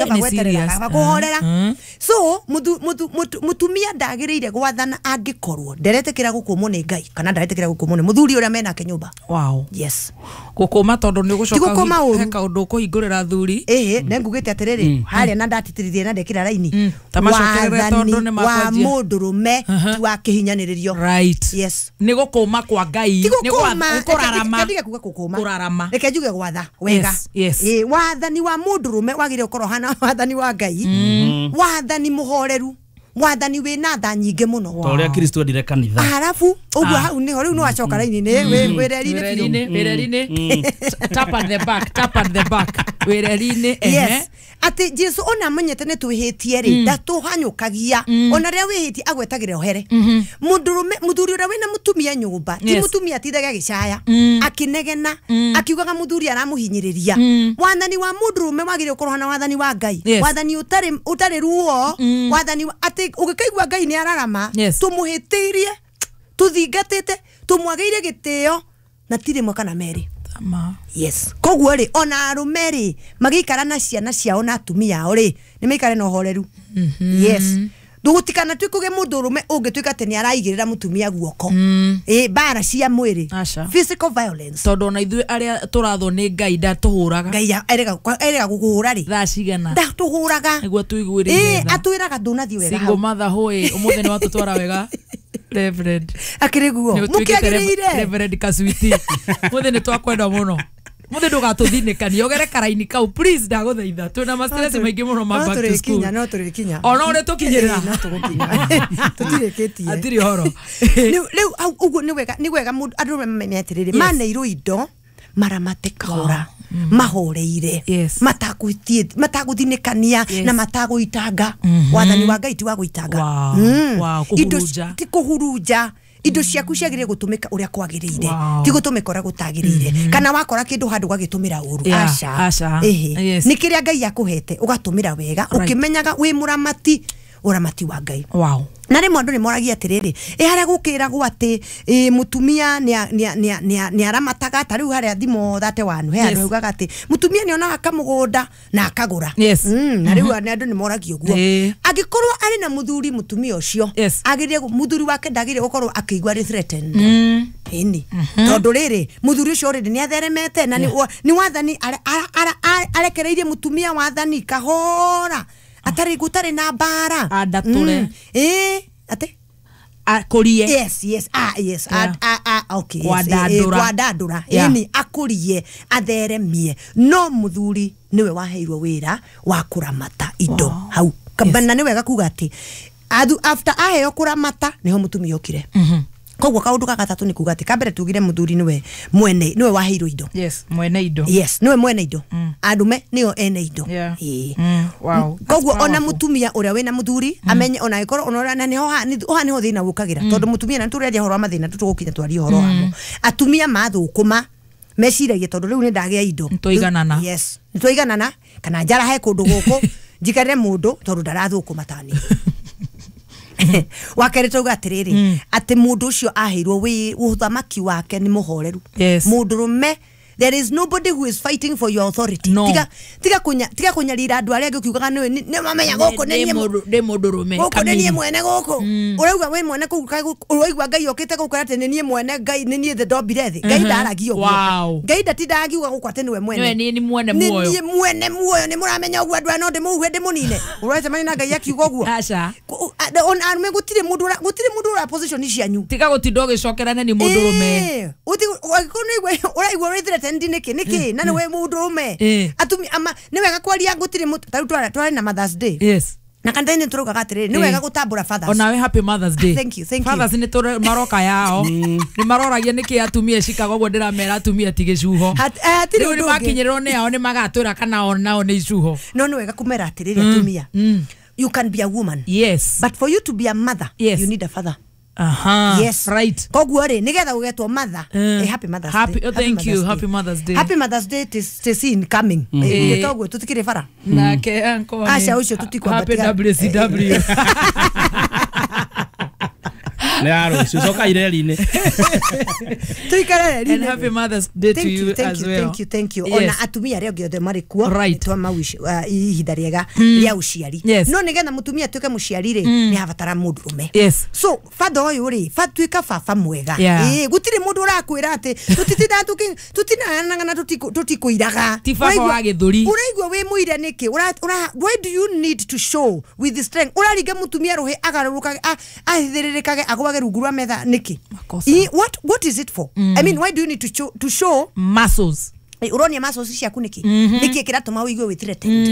Kaba gweterera kaba kuhorera. So mutumia ndagiriire gwathana angikorwo nderetikira gukumwo ni Ngai kana nderetikira gukumwo ni muthuri uria menake nyumba. Wow. Yes. Gukuma tondu ni gucoka he kaundu kuhingurira thuri. Ĩĩ ne ngugite atiriri haria na ndatitiririe na ndekira raini. Tamacokerere tondu ni wa mundurume ti wa kihinyaniririo. Right. Yes. Ni gukuma kwa Ngai ni kurarama. Ndiga kuga gukuma. Kurarama. Reke njuge gwatha wega. Yes. Ĩĩ wathani wa mundurume wagire gukorwo hana wathani wa Ngai. Wathani muhoreru. Wathani wina tha nyingĩ mũno. Ta ũrĩa Kristo endire kanitha. Harabu ũguo hau niho rĩu nĩwacoka raini-inĩ wĩreri-inĩ biũ. Wĩreri-inĩ. Tap at the back, tap at the back. Wĩreri-inĩ. Yes. Atĩ Jesu ona amenyete nĩ twĩhĩtie rĩ ndatũhanyũkagia ona rĩrĩa wĩhĩtie agwetagĩra ohere. Mũndũrũme mũthuri ũrĩa wĩna mũtumia nyũmba ti mũtumia atindaga agĩcaya akĩnegena akiugaga mũthuri aramũhinyĩrĩria. Wathani wa mũndũrũme wagĩrĩire gũkorwo na wathani wa Ngai. Wathani ũtarĩ ruo, wathani atĩ ũgĩkaigua Ngai nĩ ararama tũmũhĩtĩirie tũthingatĩte tũmwagĩire gĩtĩo na ti rĩmwe kana merĩ. Yes. Koguo rĩ ona arũme rĩ magĩikara na ciana ciao na atumia ao rĩ nĩ maikare na ũhoreru. Yes. Ndũgũtikana tuĩkũge mũndũrũme ũngĩtuĩka atĩ nĩ araigĩrĩra mũtumia guoko. Ĩ mbara cia mwĩrĩ. Physical violence. Tondũ ona ithuĩ arĩa tũrathwo nĩ Ngai ndatũhũraga. Ngai erega gũkũhũra rĩ. Thaa cigana. Ndatũhũraga. Nĩguo tũiguĩrĩire tha. Ĩ atwĩraga ndũnathiĩ wega. Single mother hũĩ ũmũthĩ nĩ watũtwara wega. Reverend. Akĩrĩ guo. Mũkĩagĩrĩire. Reverend Kaswiti. Mũthĩ nĩ twakwenda mũno. Mũthĩ ndũgatũthinĩkanie ũgere karaini kau please ndagũthaitha twĩna ma stress maingĩ mũno ma back to school. No tũrĩkinya. Ona ũrĩa tũkinyĩrĩra. No tũgũkinya. Tũtirĩkĩtie. Hatirĩ ũhoro. Rĩu ũguo nĩ wega nĩ wega mũndũ andũ mamenye atĩrĩrĩ maneirwo indo maramate kahora mahoreire matagũthinĩkania na matagũitanga. Wathani wa Ngai ti wa gũitanga. Ti kũhurunja. Indo ciaku ciagĩrĩire gũtũmĩka ũrĩa kwagĩrĩire ti gũtũmĩka ũrĩa gũtagĩrĩire kana wakora kĩndũ handũ ũgagĩtũmĩra ũru. Aca. Nĩ kĩrĩa Ngai akũhete ũgatũmĩra wega ũkĩmenyaga wĩ mũramati ũramati wa Ngai. Wow. Na rĩmwe andũ nĩ moragia atĩrĩrĩ ĩ harĩa gũkĩragwo atĩ mũtumia nĩ aramataga ta rĩu harĩa thimo 31 he andũ augaga atĩ mũtumia nĩ onaga kamũgũnda na akagũra. Na rĩu andũ nĩ moragia ũguo angĩkorwo arĩ na mũthuri mũtumia ũcio agĩrĩire mũthuri wake ndagĩrĩire gũkorwo akĩigua arĩ threatened. Ĩni tondũ rĩrĩ mũthuri ũcio already nĩ atheremete na nĩ wathani arekereirie mũtumia wathani kahora atarĩ gũtarĩ na mbara andatũre. Ĩ atĩ akũrie. Yes yes ah yes okay kwandandũra. Ĩni akũrie atheremie no mũthuri nĩwe waheirwo wĩra wa kũramata indo hau. Na nĩ wega kuga atĩ after aheo kũramata nĩho mũtumia okire. Koguo kaundu ga gatatũ nĩ kuga atĩ kambere tugire mũthuri nĩwe mwene nĩwe waheirwo indo. Yes, mwene indo. Yes, nĩwe mwene indo. Andume nĩo ene indo. Ĩĩ. Wow. Koguo ona mũtumia ũrĩa wĩna mũthuri amenye ona ĩkorwo ona na nĩho ha nĩho thĩna wũkagĩra tondũ mũtumia na tũrĩaria ũhoro wa mathĩna tũtũgũkinya twarie ũhoro wamo. Atumia mathũkũma meciragia tondũ rĩu nĩ ndagĩa indo. Nĩtwaiganana. Yes, nĩtwaiganana kana njarahe kũndũ gũkũ njikarĩre mũndũ tondũ ndarathũkũma tani. Wakerĩ tauga atĩrĩrĩ atĩ mũndũ ũcio aheirwo ũthamaki wake nĩ mũhoreru. Mũndũrũme there is nobody who is fighting for your authority. No. Tiga kũnyarira andũ arĩa angĩ ũkiugaga nĩ mamenya gũkũ nĩ niĩ mũndũrũme gũkũ nĩ niĩ mwene gũkũ ũrauga wĩ mwene kũu ũraigua Ngai okĩte gũkũ atĩ nĩ niĩ mwene Ngai nĩ niĩ ndombire thĩ. Ngai ndaragia ũguo. Ngai ndatindaga akiuga gũkũ atĩ nĩwe mwene. Nĩ mwene muoyo. Nĩ niĩ mwene muoyo nĩ mũramenya ũguo andũ aya no ndĩmũhuhe ndĩmũnine. Ũracemania na Ngai akiuga ũguo. Aca. Ona arũme gũtirĩ mũndũ ũra position cianyu. Tiga gũtinda ũgĩcokera nĩ mũndũrũme. Ũngĩkorwo nĩ ũraigua ũrĩ threatened nĩkĩ nĩkĩ na nĩwe mũndũrũme. Atumia ama nĩ wega kwaria gũtirĩ ta rĩu twarĩ na Mother's Day. Yes. Na kanitha-inĩ tũraugaga atĩrĩrĩ nĩ wega gũtambũra fathers. Onawe happy Mother's Day. Thank you, thank you. Fathers nĩ maroka yao nĩ maroragia nĩkĩ atumia cikaga ũguo ndĩramera atumia ti gĩcuho. Rĩu nĩ makinyĩrĩrwo nĩ ao nĩ magatwĩra kana o nao nĩ icuho. No nĩ wega kũmera atĩrĩrĩ atumia you can be a woman. Yes. But for you to be a mother, yes, you need a father. Aha. Yes. Right. Koguo rĩ nigetha ũgetwo mother. Happy Mother's Day. Oh, thank you. Happy Mother's Day. Happy Mother's Day tis in coming. Toguo tutikire bara. Nake uncle. Aca ucio tutikwambatia. Happy WCW. Nĩ ya rũciũ coka ireri-inĩ. Tuikare And happy Mother's Day to you as well. Thank you, thank you. Yes. Ona atumia arĩa angĩ othe marĩ kuo Right. twamawish ihinda rĩega rĩa ũciari. Yes. No nĩgetha mũtumia atuĩke mũciari rĩ, nĩ abatara mũndũrũme. Yes. So father ũyũ rĩ, batuĩka baba mwega. Yeah. Ĩĩ, gũtirĩ mũndũ ũrakwĩra atĩ tũtitindaga tũtinanang'ana tũtikũiraga. Ti baba wa gĩthũri. Ũraigua wĩ mũira nĩkĩ? Why do you need to show with the strength? Ũraringa mũtumia rũhĩ agarũrũkage ahithĩrĩrĩkage agwage rungu rwa metha nĩkĩ? Makosa. What is it for? I mean, why do you need to show muscles? Uronia muscles ciaku nĩkĩ? Nĩkĩ kĩratũma ũigue wĩ threatened?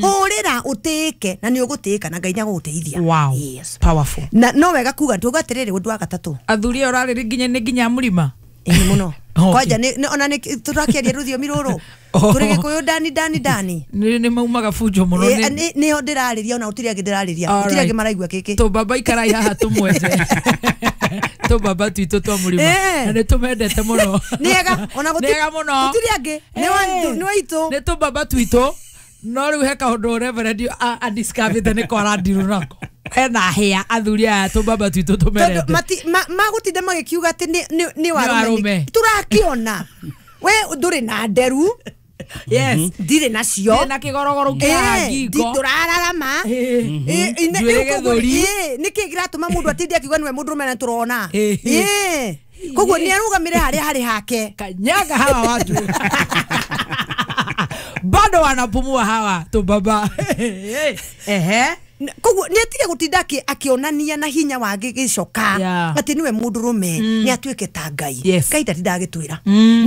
Hũrĩra ũtĩĩke na nĩ ũgũtĩĩka na Ngai nĩagũgũteithia. Wow. Yes. Powerful. Na no wega kuga tuga atĩrĩrĩ ũndũ wa gatatũ. Athuri aya ũrarĩrĩ nginya nĩ nginya mũrima. Ĩĩ mũno. Okay. Kwanja nĩ ona nĩ tũrakĩaria rũthiomi rũrũ. Oh. Tũrĩ Gĩkũyũ ndani ndani ndani. Nĩ maumaga bunjo mũno. Nĩho ndĩrarĩria ona gũtirĩ angĩ ndĩrarĩria. Gũtirĩ angĩ maraigua gĩkĩ. Tũbaba ikarai haha tũmwenje. Tũbaba twitũ twa mũrima. Na nĩ tũmendete mũno. Nĩega ona Nĩega mũno. gũtirĩ angĩ. Nĩ waitũ. Nĩ tũbaba twitũ. No rĩu he kaũndũ Reverend adiscoverĩte nĩko arandirwo nako. Ena hĩa athuri aya tũbaba twitũ tũmerete. Magũtinda magĩkiuga atĩ nĩ warũme. warũme. Tũrakĩona. We ndũrĩ na nderu. Yes. Ndirĩ nacio. Na kĩgorogoro kĩa ngingo. Ndũrararama. Njuĩrĩ gĩthũri. Nĩkĩ kĩratũma mũndũ atinde akiuga nĩwe mũndũrũme na tũrona? Koguo nĩ arũgamĩre harĩa harĩ hake. Kanyaga hawa watu. Bado wanapumua hawa tũbaba. Ehe. Koguo nĩ atige gũtinda akĩonania na hinya wa gĩcoka atĩ nĩwe mũndũrũme, nĩ atuĩke ta Ngai. Ngai ndatindaga agĩtwĩra.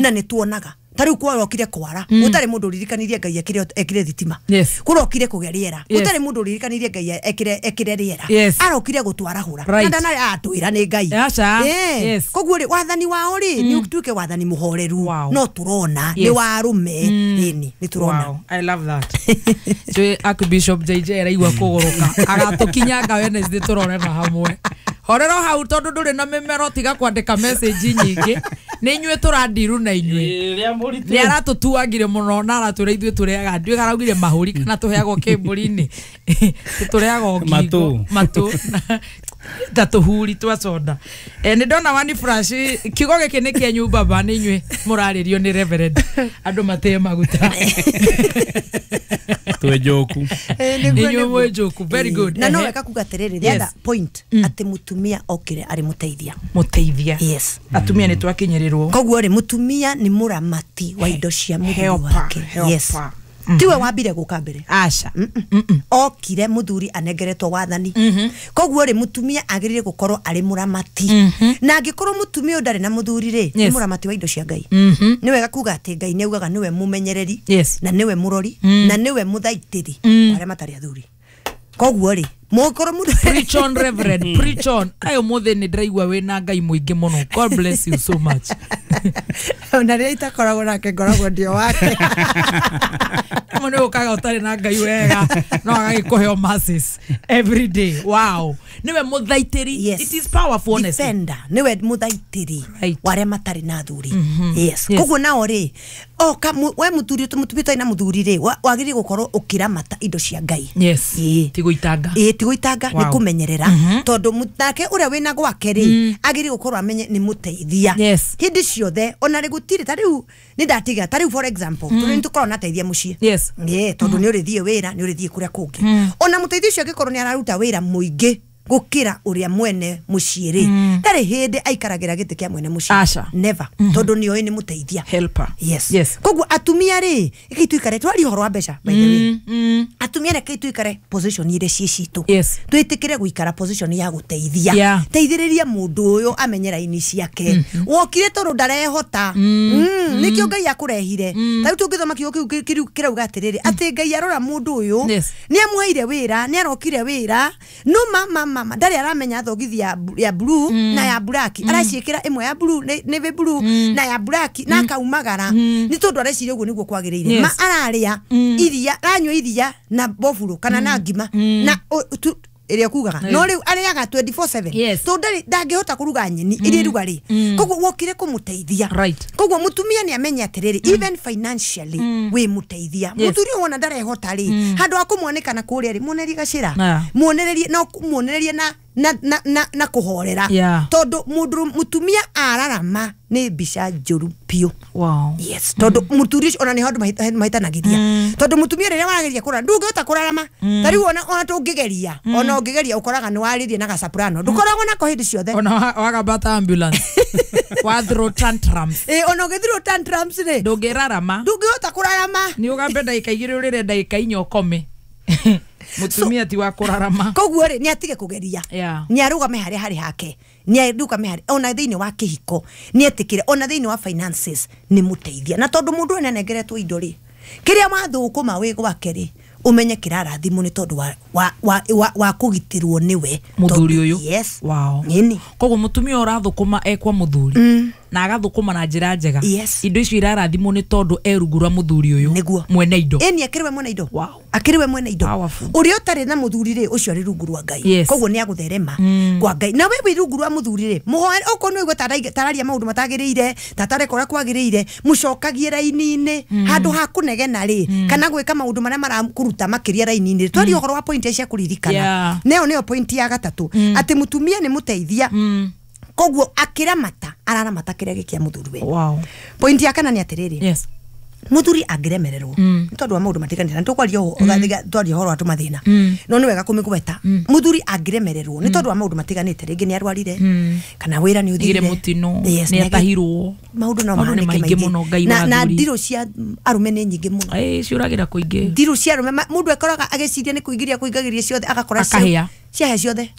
Na nĩ tuonaga. Ta rĩu kwarokire kwara, gũtarĩ mũndũ ũririkanirie Ngai ekĩre thitima. Kũrokire kũgĩa rĩera, gũtarĩ mũndũ ũririkanirie Ngai ekĩre rĩera. Arokire gũtwarahũra. Na ndanarĩ atwĩra nĩ Ngai. Koguo rĩ, wathani wao rĩ, nĩ ũtuĩke wathani mũhoreru. No tũrona nĩ warũme. Ĩni, nĩ tũrona. Wow, I love that. Njũĩ Archbishop JJ araigua kũgũrũka. Agatũkinyanga Wednesday tũrore na hamwe. Horero hau tondũ ndũrĩ na mĩmero tiga kwandĩka message nyingĩ. Nĩ inyuĩ tũrandiru na inyuĩ. Nĩ aratũtuangire mũno na aratwĩra ithuĩ tũrĩaga ndiũĩ araugire mahũri kana tũheagwo kĩmbũri-inĩ. Tũrĩagwo ngingo. Matũ. Ta tũhuri twa soda. Nĩ ndona wani flash kiugo gĩkĩ nĩ kĩanyu baba nĩ inyuĩ mũrarĩrio nĩ Reverend. Andũ matĩe maguta. Twĩ njoku. Nĩ inyuĩ mwĩ njoku. Very good. Na no wega kuga atĩrĩrĩ, the other point atĩ mũtumia okire arĩ mũteithia. Mũteithia. Yes. Atumia nĩ twakinyĩrĩrwo. Koguo rĩ, mũtumia nĩ mũramati wa indo cia mũthuri wake. Yes. Tiwe wambire gũka mbere. Aca. Okire mũthuri anengeretwo wathani. Koguo rĩ, mũtumia agĩrĩire gũkorwo arĩ mũramati. Na angĩkorwo mũtumia ũyũ ndarĩ na mũthuri rĩ, nĩ mũramati wa indo cia Ngai. Nĩ wega kuga atĩ Ngai nĩ augaga nĩwe mũmenyereri, na nĩwe mũrori, na nĩwe mũthaitĩri wa arĩa matarĩ athuri. Koguo rĩ, mũkorwo mũndũ Preach on, Reverend, preach on. Ayo mũthĩ nĩ ndĩraigua wĩna Ngai mũingĩ mũno. God bless you so much. Ona rĩrĩa itakoragwo nake ngoragwo ndio wake. Mũndũ nĩ ũkaga ũtarĩ na Ngai wega, no agagĩkũhe masses every day. Wow. Nĩwe mũthaitĩri. Yes. It is powerful, honestly. Defender. Nĩwe mũthaitĩri wa arĩa matarĩ na athuri. Yes. Yes. Koguo nao rĩ, oka we mũthuri mũtumia ũtarĩ na mũthuri rĩ, wagĩrĩire gũkorwo ũkĩramata indo cia Ngai. Yes. Ti gũitanga. Ĩĩ, ti gũitanga, nĩ kũmenyerera. Tondũ nake ũrĩa wĩna gwake rĩ, agĩrĩire gũkorwo amenye nĩ mũteithia. Yes. Hĩndĩ ciothe ona rĩ gũtirĩ ta rĩu nĩ ndatiga ta rĩu for example, tondũ nĩ tũkoragwo na ateithia mũciĩ. Yes. Tondũ nĩ ũrĩthiĩ wĩra, nĩ ũrĩthiĩ kũrĩa kũngĩ. Ona mũteithia ũcio angĩkorwo nĩ araruta wĩra mũingĩ gũkĩra ũrĩa mwene mũciĩ rĩ, ndarĩ hĩndĩ aikaragĩra gĩtĩ kĩa mwene mũciĩ. Aca. Never. Tondũ nĩoĩ nĩ mũteithia. Helper. Yes. Yes. Koguo atumia rĩ, rekei tũikare twarie ũhoro wa mbeca by the way. Atumia rekei tũikare position iria ciĩ citũ. Yes. Twĩtĩkĩre gũikara position ya gũteithia. Yeah. Teithĩrĩria mũndũ ũyũ amenye raini ciake. Wokire tondũ ndarehota. Nĩkĩo Ngai akũrehire. Ta rĩu tũngĩthoma kiugo kĩu kĩrauga atĩrĩrĩ, atĩ Ngai arora mũndũ ũyũ, Yes. nĩ amũheire wĩra, nĩ arokire wĩra, no mama ndarĩ aramenya thogithi ya blue na ya black. Araciĩkĩra ĩmwe ya blue nĩ blue na ya black na akaumagara. Nĩ tondũ areciria ũguo nĩguo kwagĩrĩire. Yes. Ma ararĩa iria, aranyua iria na boburo kana na ngima na ĩrĩa kugaga. No rĩu arĩaga 24/7. Yes. Tondũ ndangĩhota kũruga nyeni iria iruga rĩ. Koguo wokire kũmũteithia. Right. Koguo mũtumia nĩ amenye atĩrĩrĩ, even financially wĩ mũteithia. Yes. Mũthuri ũyũ wona ndarehota rĩ, handũ ha kũmwanĩkana kũrĩa rĩ, muonererie gacĩra. Yeah. Muonererie no muonererie na na kũhorera. Tondũ mũndũ mũtumia ararama nĩ mbica njũru biũ. Wow. Yes, tondũ mũthuri ũcio ona nĩ handũ mahitanagĩria. Tondũ mũtumia rĩrĩa warageria kũrara ndũngĩhota kũrarama. Ta rĩu ona tũngĩgeria, ona ũngĩgeria ũkoraga nĩ warĩrie na gacaprano. Ndũkoragwo nako hĩndĩ ciothe. Ona wagambata ambulance. Wa throw tantrums. Ona ũgĩthrow tantrums rĩ. Ndũngĩrarama. Ndũngĩhota kũrarama. Nĩ ũgambe ndagĩka 2 ũrĩre ndagĩka 4 ũkome. Mutumia ti wa kũrarama. Koguo rĩ nĩ atige kũgeria. Nĩ arũgame harĩa harĩ hake. Nĩ arũgame harĩ ona thĩinĩ wa kĩhiko. Nĩ etĩkĩre ona thĩinĩ wa finances nĩ mũteithia. Na tondũ mũndũ ũyũ nĩanengeretwo indo rĩ, kĩrĩa wathũkũma wĩ gwake rĩ, ũmenye kĩrarathimwo nĩ tondũ wa kũgitĩrwo nĩwe mũthuri ũyũ. Yes. Wow. Nini. Koguo mũtumia ũrathũkũma ekwa mũthuri na agathũkũma na njĩra njega. Yes. Indo icio irarathimwo nĩ tondũ erungu rwa mũthuri ũyũ. Nĩguo. Mwene indo. Ĩni akĩrĩ we mwene indo. Wow. Akĩrĩ we mwene indo. Ũrĩa ũtarĩ na mũthuri rĩ, ũcio arĩ rungu rwa Ngai. Yes. Koguo nĩ agũtherema kwa Ngai. Na we wĩ rungu rwa mũthuri rĩ, mũhoe okorwo nĩ ũigua tararia maũndũ matagĩrĩire, tatareka ũrĩa kwagĩrĩire, mũcokagie raini-inĩ handũ ha kũnegena rĩ, kana gwĩka maũndũ marĩa marakũruta makĩria raini-inĩ. Twaria ũhoro wa point cia kũririkana. Neo nĩyo point ya gatatũ, atĩ mũtumia nĩ mũteithia. Koguo akĩramata araramata kĩrĩa gĩkĩa mũthuri we. Wow. Point ya kana nĩ atĩrĩrĩ. Yes. Mũthuri angĩremererwo nĩ tondũ wa maũndũ matiganĩte, na tũkwaria ũhoro wa tũmathĩna, no nĩ wega kũmĩgweta. Mũthuri angĩremererwo nĩ tondũ wa maũndũ matiganĩte, rĩngĩ nĩ arwarire, kana wĩra nĩ ũthirire, mũtino, nĩ atahirwo, maũndũ no mahanĩke maingĩ mũno. Ngai na ndirũ cia arũme nĩ nyingĩ mũno. Ciũragĩra kũingĩ. Ndirũ cia arũme, mũndũ ekoraga agĩciria nĩ kũingĩria kũingagĩria ciothe, agakora ciahĩa ciothe.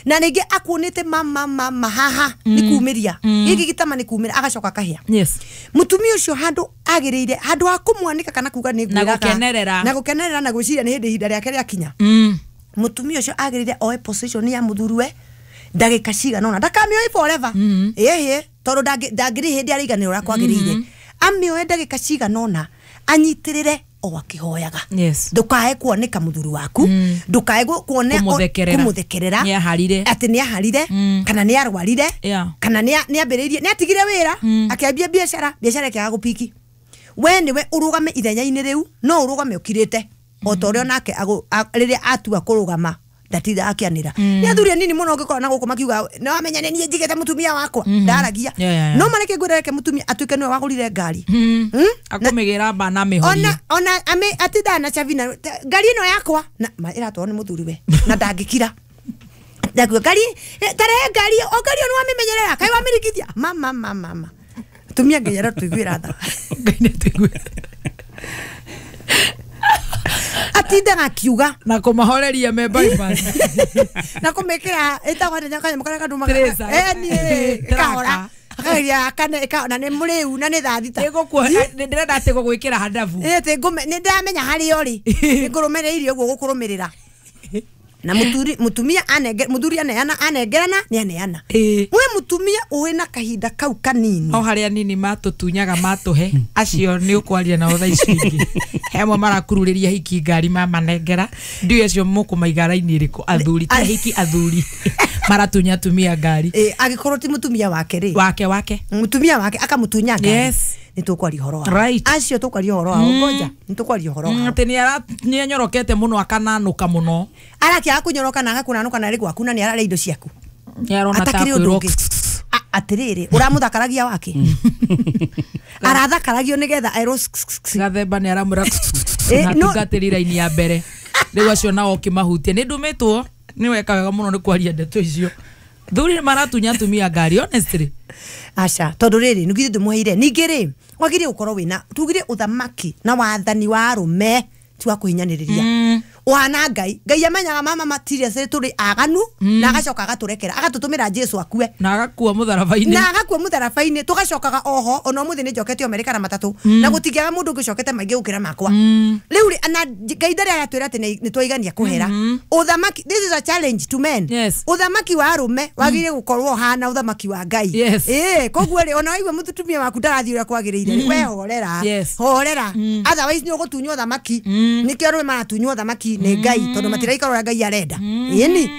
Na rĩngĩ akuonĩte mama haha nĩ kumĩria gĩkĩ gĩtama nĩ kumĩra, agacoka akahĩa. Yes. Mũtumia ũcio handũ agĩrĩire, handũ ha kũmwanĩka kana kuga nĩ ngwĩraga na gũkenerera na gwĩciria nĩ hĩndĩ ihinda rĩake rĩakinya, mũtumia ũcio agĩrĩire oe position ya mũthuriwe ndagĩka cigana ũna, ndakamĩoe forever. Ĩhĩ, tondũ ndangĩrĩ hĩndĩ araiganĩra ũrĩa kwagĩrĩire. Amĩoe ndagĩka cigana ũna, anyitĩrĩre o akĩhoyaga. Yes. Ndukae kuoneka mũthuri waku, ndukae kũmũthekerera atĩ nĩ aharire, kana nĩ arwarire, kana nĩ ambĩrĩirie, nĩ atigire wĩra, akĩambia biacara, biacara ĩkĩaga gũpiki. We nĩwe ũrũgame ithenya-inĩ rĩu, no ũrũgame ũkirĩte o ta ũrĩa onake rĩrĩa atua kũrũgama ndatinda akĩanĩra. Nĩ athuri anini mũno ũngĩkora na gũkũ makiuga nĩ wamenya nĩ niĩ njigĩte mũtumia wakwa, ndaragia. No mareke ngwĩra reke mũtumia atuĩke nĩwe wagũrire ngari, akũmĩgĩra bana amĩhorie, ona atindaga na cabi na ngari ĩno yakwa na ĩratwarwo nĩ mũthuri we na ndangĩkira. Ndakuga ngari tarehe ngari o ngari ĩyo nĩ wamĩmenyerera, kaĩ wamĩrigithia mama mama mama. Atumia Ngai arotũiguĩra tha. Ngai nĩatũiguĩra. Atindaga akiuga na kũmahoreria me bypass na kũmĩkĩra ĩtagwo atĩa kanyamũ karĩa kandumaga ĩkahora akageria akane na nĩ mũrĩu na nĩ thaa thita. Ndĩrenda atĩ gũgwĩkĩra handabu. Atĩ nĩ ndĩramenya harĩa ũrĩ, nĩngũrũmĩrĩire ũguo gũkũrũmĩrĩra. Na mũtumia mũthuri aneana anengerana nĩ aneana. We mũtumia ũĩ na kahinda kau kanini. O harĩa nini matũtunyaga matũhe, acio nĩ ũkwaria nao thaa ici ingĩ. He amwe marakururĩria hiki ngari mamanengera, ndiũĩ acio mũkũmaiga raini ĩrĩkũ, athuri ti hiki athuri maratunya atumia ngari. Angĩkorwo ti mũtumia wake rĩ, wake mũtumia wake akamũtunya ngari. Yes. Nĩ tũkwaria ũhoro wao. Right. Acio tũkwaria ũhoro wao, ngoja nĩ tũkwaria ũhoro wao. Atĩ nĩ anyorokete mũno akananũka mũno. Arakĩaga kũnyoroka na agakũnanũka na arĩ gwaku na nĩ ararĩa indo ciaku. Nĩ arona ta kwĩrwo atĩrĩrĩ, ũramũthakaragia wake. Arathakaragio nĩgetha erwo gathemba nĩ aramwĩra na tungatĩri raini ya mbere. Rĩu acio nao ũkĩmahutia nĩ ndũmĩtwo, nĩ weka wega mũno nĩ kwaria ndeto icio. Thuri nĩ maratunya atumia ngari honestly. Aca, tondũ rĩrĩ nĩ githĩ ndũmũheire. Ningĩ rĩ, wagĩrĩire gũkorwo wĩna tugire ũthamaki na wathani wa arũme ti wa kũhinyanĩrĩria. Ũhana Ngai, Ngai amenyaga mama matirĩa tũrĩ aganu, na agacoka agatũrekera, agatũtũmĩra Jesu akue na agakua mũtharaba-inĩ, na agakua mũtharaba-inĩ, tũgacokaga oho. Ona ũmũthĩ nĩ njokete Amerika na matatũ, na gũtingĩaga mũndũ ũngĩ ũcokete maingĩ gũkĩra makwa. Rĩu rĩ, na Ngai ndarĩ aratwĩra atĩ nĩ twaigania kũhera. Ũthamaki, this is a challenge to men. Yes. Ũthamaki wa arũme wagĩrĩire gũkorwo ũhana ũthamaki wa Ngai. Yes. Koguo rĩ, ona waigua mũtumia waku ndarathiĩ ũrĩa kwagĩrĩire, we horera. Horera. Otherwise nĩ ũgũtunywo ũthamaki. Nĩkĩo arũme maratunywo ũthamaki nĩ Ngai, tondũ matiraikara ũrĩa Ngai arenda. Ĩni.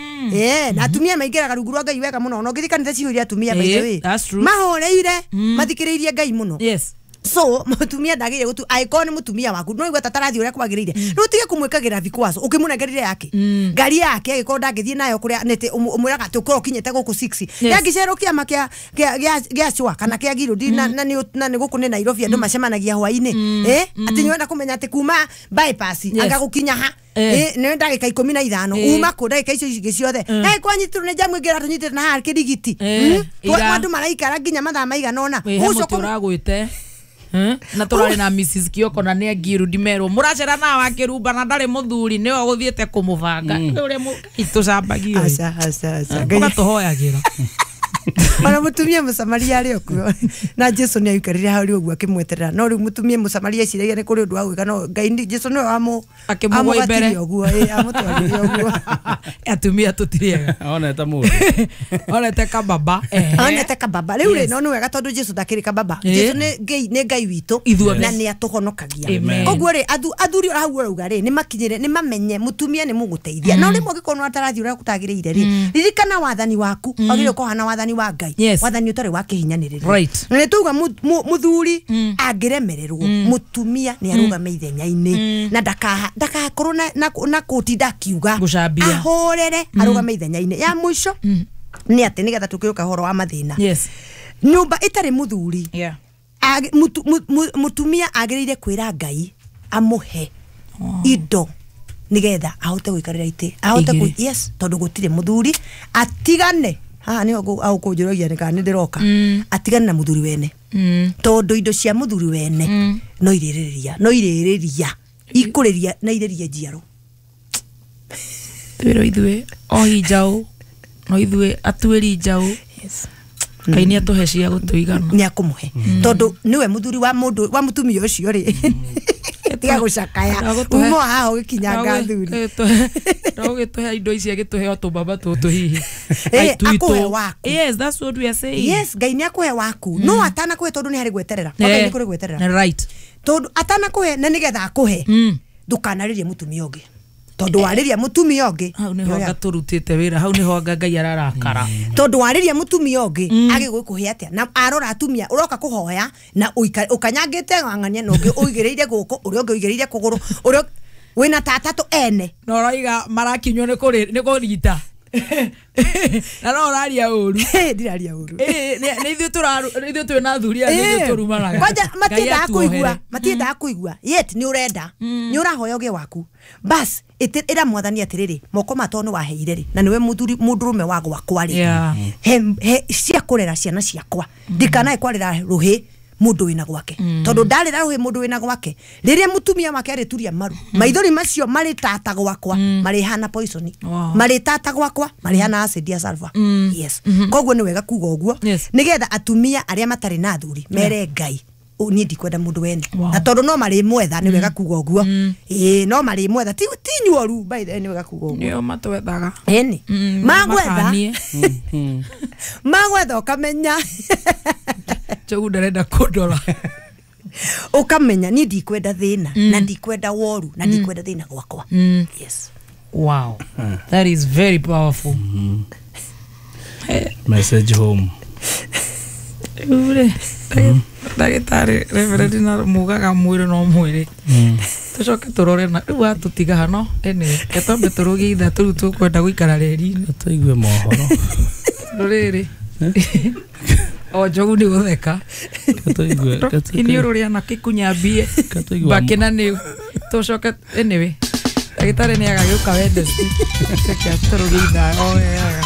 Na atumia maingĩraga rungu rwa Ngai wega mũno. Ona ũngĩthiĩ kanitha cihũire atumia by the way. That's true. Mahoreire, mathikĩrĩirie Ngai mũno. Yes. So mutumia ndagire gutu angĩkorwo nĩ mutumia waku no igua tatarathi uria kwagĩrĩire rĩu tige kumwĩkagĩra vikwazo ũkĩmũnengerire yake ngari yake angĩkorwo ndangĩthiĩ nayo kũrĩa nĩtĩ ũmwĩraga atĩ ũkorwo ũkinyĩte gũkũ 6 yangĩcerwo kĩama kĩa cwa kana kĩa Girudi na nĩ gũkũ nĩ Nairobi andũ macemanagia hwaĩ-inĩ atĩ nĩwenda kũmenya atĩ kuma bypass anga gũkinya ha nĩ ndagĩka 15 uma kũ ndagĩka icio ingĩ ciothe kwanyitirwo nĩ jamu ĩngĩ ĩratũnyitĩte na haha kĩrigiti andũ maraikara nginya mathaa maigana ũna ũcio ũragwĩte na turari na Mrs Kioko na nĩ Ngirudi merwo muracera na wa Kirumba na ndarĩ muthuri nĩwe ũgũthiĩte kũmũbanga ũrĩa itũcambagio aca aca aca ũgatũhoyagĩra ona mutumia Mũsamaria arĩ okuo na Jesu nĩ aikarire hau ũguo akĩmweterera no rĩu mutumia Mũsamaria eciragia nĩ kũrĩ ũndũ wa gwĩka no Ngai Jesu nĩwe akĩmũgwa mbere ũguo amũtwarire ũguo atumia tũtirĩega onete mũndũ onete kababa onete kababa rĩu rĩ no nĩ wega tondũ Jesu ndakĩrĩ kababa Jesu nĩ Ngai witũ na nĩ atũhonokagia koguo rĩ athuri hau ũrauga rĩ nĩ makinyĩre nĩ mamenye mutumia nĩ mũgũteithia no rĩmwe ũngĩkorwo nĩ atarathi ũrĩa gũtagĩrĩire rĩ ririkana wathani waku wagĩrĩirwo kũhana wathani wa Ngai wathani ũtarĩ wa kĩhinyanĩrĩrio right. Na nĩ tuga muthuri angĩremererwo mutumia nĩ arũgame ithenya-inĩ na ndakakorwo na kũtinda akiuga ahorere arũgame ithenya-inĩ ya mũico nĩ atĩ nĩgetha tũkĩũka ũhoro wa mathĩna nyũmba ĩtarĩ muthuri mutumia agĩrĩire kwĩra Ngai amũhe indo nĩgetha ahote gũikarĩra itĩ ahote yes tondũ gũtirĩ muthuri atigane haha nĩho ũkũnjũragia nĩ kana nĩ ndĩroka atigane na muthuri wene tondũ indo cia muthuri wene no irĩrĩria ikũrĩria na irĩrie njiaro twĩrwo ithuĩ ohi njaũ no ithuĩ atuĩri njaũ Ngai nĩ atũhe cia gũtũigana nĩ akũmũhe tondũ nĩwe muthuri wa mũndũ wa mũtumia ũcio rĩ tiga gũcakaya uma haha ũgĩkinyanga athuri no ũgĩtũhe indo ici agĩtũhe o tũmbamba tũtũ hihi akũhe waku yes that's what we are saying yes Ngai nĩ akũhe waku no atanakũhe tondũ nĩ harĩ gweterera Ngai nĩ kũrĩ gweterera right tondũ atanakũhe na nĩgetha akũhe ndũkanarĩrie mũtumia ũngĩ tondũ warĩria mũtumia ũngĩ hau nĩho anga tũrutĩte wĩra hau nĩho anga Ngai ararakara tondũ warĩria mũtumia ũngĩ agĩgũkũhe atĩa na arora atumia ũroka kũhoya na ũkanyangĩte ng'ang'ania na ũngĩ ũigĩrĩire gũkũ ũrĩa ũngĩ ũigĩrĩire kũgũrũ ũrĩa wĩna tatatũ ene na ũraiga marakinywo nĩ kũrita na no ũraria ũru ndiraria ũru nĩ ithuĩ twĩna athuri aya nĩ ithuĩ tũrumanaga kwanja matiendaga kũigua yet nĩ ũrenda nĩ ũrahoya ũgĩe waku bas ĩra mwathani atĩrĩrĩ moko ma tondũ nĩ waheire rĩ na nĩwe mũndũrũme wa gwakwa rĩ he cia kũrera ciana ciakwa ndikanae kwarĩra rũhĩ mũndũ wĩna gwake tondũ ndarĩra rũhĩ mũndũ wĩna gwake rĩrĩa mũtumia wake arĩturia maru maithori macio marĩ tata gwakwa marĩhana poison marĩ tata gwakwa marĩhana acid ya sulfur yes koguo nĩ wega kuga ũguo nĩgetha atumia arĩa matarĩ na athuri mere Ngai niĩ ndikwenda mũndũ wene na tondũ no marĩmwetha nĩ wega kuga ũguo ĩĩ no marĩmwetha ti nyuoru by the way nĩ wega kuga ũguo nĩo matwethaga ĩni magwetha magwetha ũkamenya Njogu ndarenda kũndora ũkamenya niĩ ndikwenda thĩna na ndikwenda woru na ndikwenda thĩna gwakwa yes wow that is very powerful message home ure ndagĩtarĩ reverend na mugaga mwĩrĩ no mwĩrĩ tũcoke tũrore na rĩu atũtiga hano anyway ketwambe tũrũgie ithaa tũrĩu tũkwenda gũikara reri-inĩ tũigue mohoro rũrĩrĩ o Njogu nĩ gũtheka iniũrũ rĩa na kĩkunyambie mbakĩ na nĩ tũcoke anyway ndagĩtarĩ nĩ agagĩũka Wednesday reke atũrũgie ithaa o wega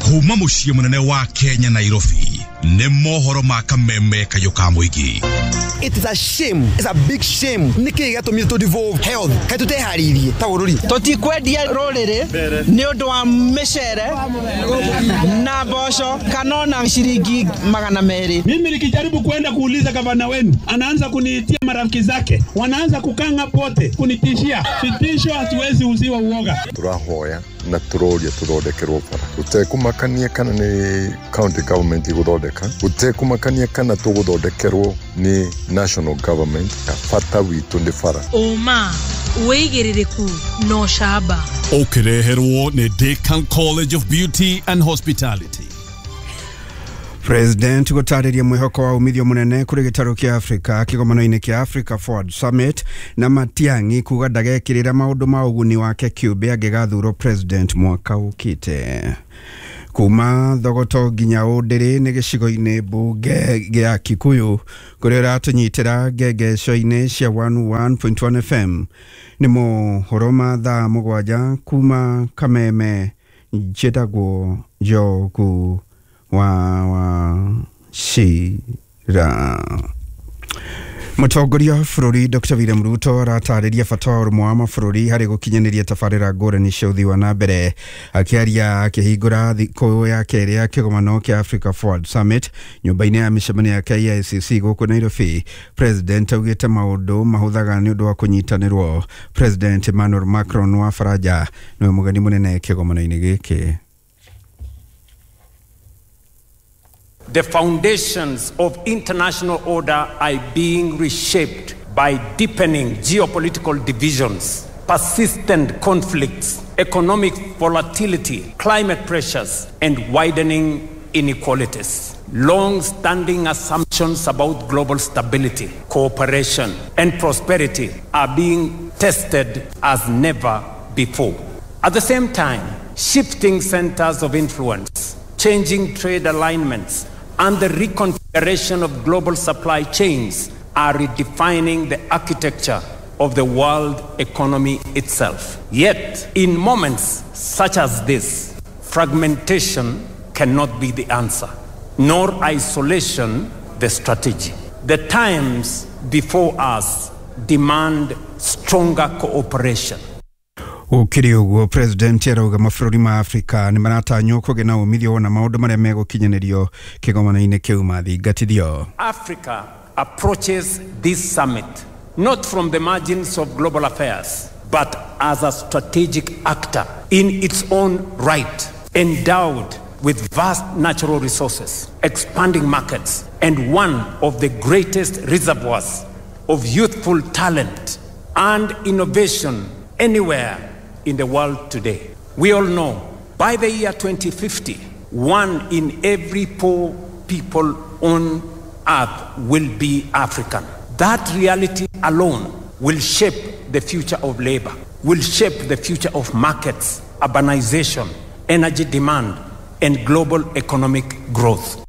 kuma muciĩ mũnene wa Kenya Nairobi nĩ mohoro ma kameme kayũ ka mũingĩ. It is a shame. It's a big shame. Niki gĩatũmire tũ devolve health. Kaĩ tũteharĩirie ta bũrũri. Tũtikwendia rũrĩrĩ nĩ ũndũ wa mĩcere na mboco kana ona ciringi 200. Mimi nikijaribu kwenda kuuliza gavana wenu anaanza kuniitia marafiki zake, wanaanza kukanga pote kunitishia. Vitisho hatuwezi uziwa uoga. Tũrahoya na tũroria tũthondekerwo bara. Gũtekumakania kana nĩ county government ĩgũthondeka, gũtekumakania kana tũgũthondekerwo nĩ national government. Bata witũ nĩ bara. Ũma wĩigĩrĩrĩku na ũcamba ũkĩreherwo nĩ Decan College of Beauty and Hospitality. President gũtarĩria mwĩhoko wa umithio mũnene kũrĩ gĩtarũ kĩa Africa kĩgomano-inĩ kĩa Africa Forward Summit, na Matiang'i kuga ndagekĩrĩra maũndũ ma ũguni wake kĩũmbe angĩgathurwo president mwaka ũkĩte. Kuma Thogoto nginya Ũndĩrĩ nĩ gĩcigo-inĩ mbunge gĩa Kikuyu kũrĩa ũratũnyitĩra ngengeco-inĩ cia 101.1 FM. Nĩ mohoro ma thaa 7 kuma Kameme. Njĩtagwo Njogu wa Wachira. Mũtongoria wa bũrũri Dr. William Ruto aratarĩria bata wa ũrũmwe wa mabũrũri harĩ gũkinyanĩria tabarĩra ngũrani cia ũthii wa na mbere. Akĩaria akĩhingũra thikũ ya kerĩ ya kĩgomano kĩa Africa Forward Summit nyũmba-inĩ ya mĩcemanio ya KICC gũkũ Nairobi, President augĩte maũndũ mahũthaga nĩ ũndũ wa kũnyitanĩrwo. President Emmanuel Macron wa Faranja nĩwe mũgeni mũnene kĩgomano-inĩ gĩkĩ. The foundations of international order are being reshaped by deepening geopolitical divisions, persistent conflicts, economic volatility, climate pressures, and widening inequalities. Long-standing assumptions about global stability, cooperation, and prosperity are being tested as never before. At the same time, shifting centers of influence, changing trade alignments, and the reconfiguration of global supply chains are redefining the architecture of the world economy itself. Yet, in moments such as this, fragmentation cannot be the answer, nor isolation the strategy. The times before us demand stronger cooperation. Gũkĩrĩ ũguo, President arauga mabũrũri ma Afrika nĩ maratanywo kũgĩa na umithio wona maũndũ marĩa megũkinyanĩrio kĩgomano-inĩ kĩu mathingatithio. Africa approaches this summit not from the margins of global affairs, but as a strategic actor in its own right, endowed with vast natural resources, expanding markets, and one of the greatest reservoirs of youthful talent and innovation anywhere in the world today. We all know by the year 2050, 1 in every 4 people on earth will be African. That reality alone will shape the future of labor, will shape the future of markets, urbanization, energy demand, and global economic growth.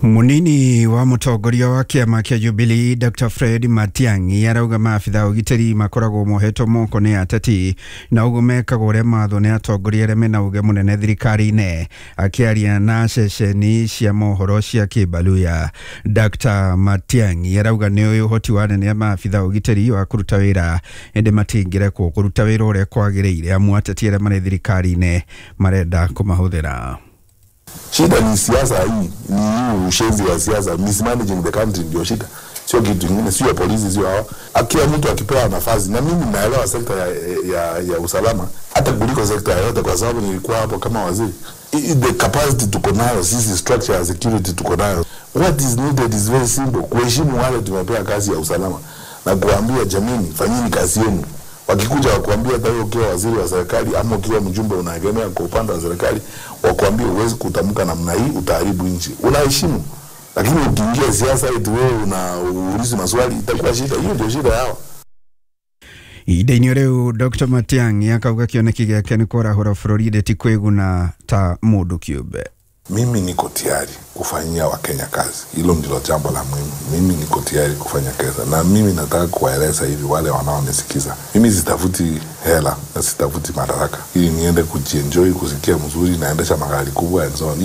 Munini wa mũtongoria wa kĩama kĩa Jubilee Dr. Fred Matiang'i arauga maabitha ũgitĩri makoragwo mohetwo moko nĩ ateti na ũguo mekaga ũrĩa mathwo nĩ atongoria arĩa mena uge mũnene thirikari-inĩ. Akĩaria na ceceni cia mohoro cia Kĩbaluya, Dr. Matiang'i arauga nĩ ũĩ ũhoti wa anene a maabitha ũgitĩri wa kũruta wĩra, ĩndĩ matingĩrekwo kũruta wĩra ũrĩa kwagĩrĩire amu ateti arĩa marĩ thirikari-inĩ marenda kũmahũthĩra. Shida ni siasa hii, ni ushenzi wa siasa, mismanaging the country ndio shida. Sio kitu kingine, sio polisi, sio hawa. Akiwa mtu akipewa nafasi, na mimi naelewa sekta ya usalama hata kuliko sekta yoyote kwa sababu nilikuwa hapo kama waziri. The capacity tuko nayo sisi, structure ya security tuko nayo. What is needed is very simple, kuheshimu wale tumepewa kazi ya usalama na kuambia jamii, fanyeni kazi yenu. Wakikuja wakuambia hata wewe ukiwa waziri wa serikali ama ukiwa mjumbe unaegemea kwa upande wa serikali, wakuambia huwezi kutamka namna hii, utaharibu nchi. Unaheshimu. Lakini ukiingia siasa eti wewe unauliza maswali, itakuwa shida. Hiyo ndio shida yao. Ihinda-inĩ rĩu Dr. Matiang'i akauga kĩoneki gĩake nĩ kwarahũra bũrũri ĩndĩ ti kwĩguna ta mũndũ kĩũmbe. Mimi niko tayari kufanyia Wakenya kazi. Hilo ndilo jambo la muhimu. Mimi niko tayari kufanya kazi. Na mimi nataka kuwaeleza hivi wale wanaonisikiza. Mimi sitafuti hela na sitafuti madaraka ili niende kujienjoy, kusikia mzuri, naendesha magari kubwa and so on.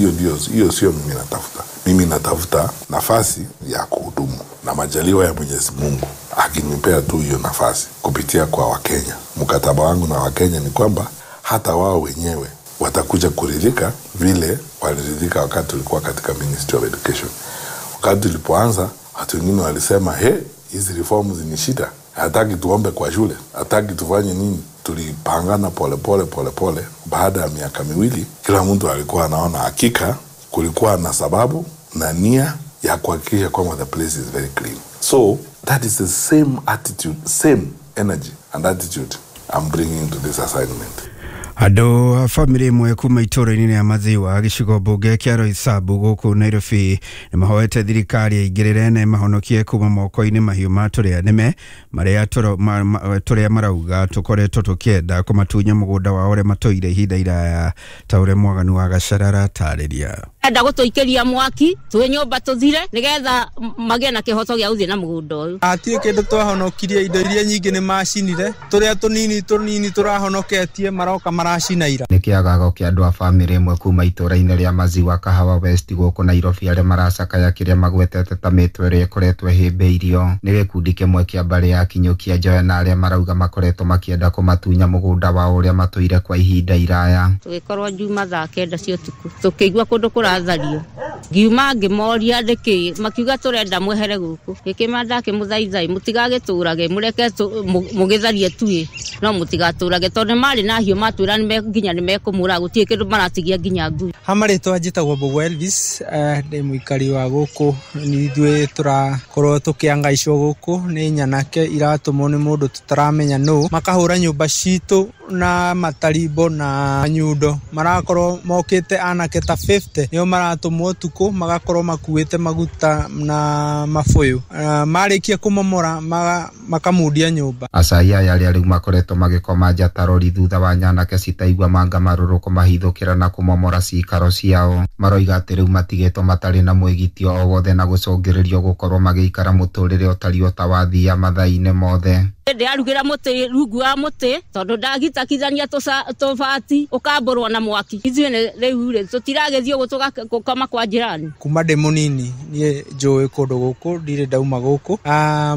Hiyo sio mimi natafuta. Mimi natafuta nafasi ya kuhudumu na majaliwa ya Mwenyezi Mungu akinipea tu hiyo nafasi kupitia kwa Wakenya. Mkataba wangu na Wakenya ni kwamba hata wao wenyewe watakuja kuridhika vile waliridhika wakati tulikuwa katika Ministry of Education. Wakati tulipoanza, watu wengine walisema, he, hizi reforms ni shida. Hataki tuombe kwa shule, hataki tufanye nini. Tulipangana pole pole pole pole. Baada ya miaka miwili, kila mtu alikuwa anaona hakika kulikuwa na sababu na nia ya kuhakikisha kwamba the place is very clean. So that is the same attitude, same energy and attitude I'm bringing to this assignment. Andũ a bamĩrĩ ĩmwe kuma itũũra-inĩ rĩa Maziwa gĩcigo mbunge kĩa Roysambu gũkũ Nairobi nĩ mahoete thirikari ĩingĩrĩre na ĩmahonokie kuma moko-inĩ mahiũ ma tũrĩa nĩme marĩa tũrĩa marauga tũkoretwo tũkĩenda kũmatunya mũgũnda wao ũrĩa matũire ihinda iraya ta ũrĩa Mwaganu wa Gacara aratarĩria. Enda gũtũikĩria mwaki twĩ nyũmba tũthire nĩgetha magĩe na kĩhoto gĩa gũthiĩ na mũgũnda ũyũ. Hatirĩ kĩndũ twahonokirie, indo iria nyingĩ nĩ macinire, tũrĩa tũnini tũnini tũrahonoketie maroka maracina ira. Nĩ kĩagago kĩa andũ a bamĩrĩ ĩmwe kuma itũũra-inĩ rĩa Maziwa Kahawa West gũkũ Nairobi arĩa maracakaya kĩrĩa magwetete ta mĩtwe ĩrĩa ĩkoretwo ĩhĩmbĩirio nĩ gĩkundi kĩmwe kĩa mbarĩ ya Kinyũkia Njoya na arĩa marauga makoretwo makĩenda kũmatunya mũgũnda wao ũrĩa matũire kwa ihinda iraya. Tũgĩkorwo Juma thaa 9 cia ũtukũ tũkĩigua kũndũ kũrathario, ngiuma ngĩmoria nĩkĩ, makiuga tũrenda mwehere gũkũ. Gĩkĩma ndakĩmũthaithai mũtigagĩtũrage, mũreke mũgĩtharie tuĩ no mũtigatũrage, tondũ nĩ marĩ na hiũ matwĩra nginya nĩ mekũmũraga, gũtirĩ kĩndũ maratigia nginya ngui. Ha marĩtwa njĩtagwo Mbũgũ Elvis, ndĩ mũikari wa gũkũ. Ithuĩ tũrakorwo tũkĩangaicwo gũkũ nĩ nyanake iratũmwo nĩ mũndũ tũtaramenya nũ, makahũra nyũmba citũ na matarimbo na nyundo. Marakorwo mokĩte anake ta 50 nĩo maratũmwo ũtukũ, magakorwo makuĩte maguta na mabũyũ. Marĩkia kũmomora makamundia nyũmba. Acai aya arĩa rĩu makoretwo magĩkoma nja ta rori thutha wa nyanake citaigua manga marũrũ kũmahithũkĩra na kũmomora cikaro ciao, maroiga atĩ rĩu matigĩtwo matarĩ na mwĩgitio o wothe na gũcũngĩrĩrio gũkorwo magĩikara mũtũrĩre ũtariĩ ta wa thia mathaa-inĩ mothe. Ndĩrarugĩra mũtĩ rungu wa mũtĩ tondũ ndagitakithania tũbati ũkambũrwo na mwaki. Ithuĩ rĩu rĩ tũtiragĩthiĩ ũguo tũgakoma kwa jirani. Kuma ndĩ mũnini niĩ njũĩ kũndũ gũkũ, ndirĩ ndauma gũkũ.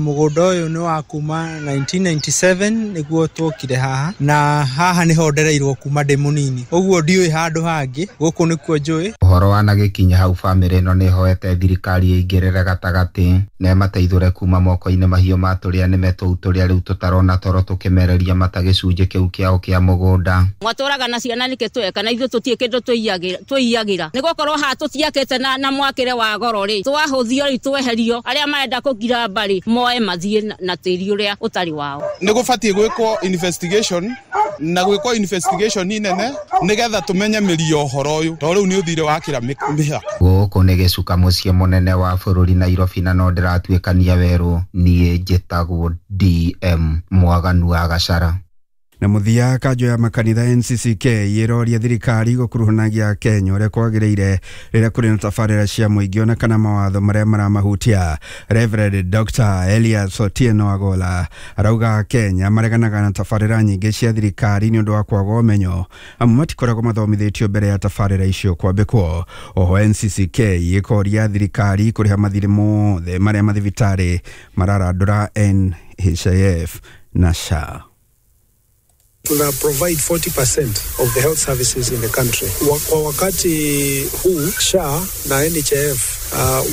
Mũgũnda ũyũ nĩ wa kuma 1997 nĩguo twokire haha, na haha nĩho ndereirwo kuma ndĩ mũnini, ũguo ndiũĩ handũ hangĩ, gũkũ nĩkuo njũĩ. Ũhoro wanagĩkinya hau bamĩrĩ ĩno nĩ ĩhoete thirikari ĩingĩrĩre gatagatĩ na ĩmateithũre kuma moko-inĩ mahiũ ma tũrĩa nĩme tũu tũrĩa rĩu tũtarona toro tũkĩmereria mata gĩcunjĩ kĩu kĩao kĩa mũgũnda. Mwatũraga na ciana nĩkĩ tweka na ithuĩ tũtirĩ kĩndũ twĩiyagĩra, nĩ gũkorwo haha tũtiakĩte na mwakĩre wa goro rĩ, twahũthio rĩ tweherio, arĩa marenda kũngira mbarĩ moe mathiĩ na tĩri ũrĩa ũtarĩ wao. Nĩ gũbatiĩ gwĩkwo investigation na gwĩkwo investigation nene nĩgetha tũmenye mĩri ya ũhoro ũyũ, tondũ rĩu nĩ ũthire wakĩra mĩhaka. Gũkũ nĩ gĩcuka mũciĩ mũnene wa bũrũri Nairobi, na no ndĩratuĩkania werũ. Niĩ njĩtagwo DM Mwaganu wa Gacara. Na mũthia kanjo ya makanitha NCCK ĩroria thirikari gũkuruhanagia Kenya ũrĩa kwagĩrĩire rĩrĩa kũrĩ na tabarĩra cia mũingĩ ona kana mawatho marĩa maramahutia. Reverend Dr. Elias Otieno Agola arauga Kenya mareganaga na tabarĩra nyingĩ cia thirikari nĩ ũndũ wa kwaga ũmenyo, amu matikoragwo mathomithĩtio mbere ya tabarĩra icio kwambĩkwo. Oho NCCK ĩkoria thirikari kũrĩha mathirĩ mothe marĩa mathibitarĩ mararandũra NHIF na SHA. Tuna provide 40% of the health services in the country. Kwa wakati huu SHA na NHIF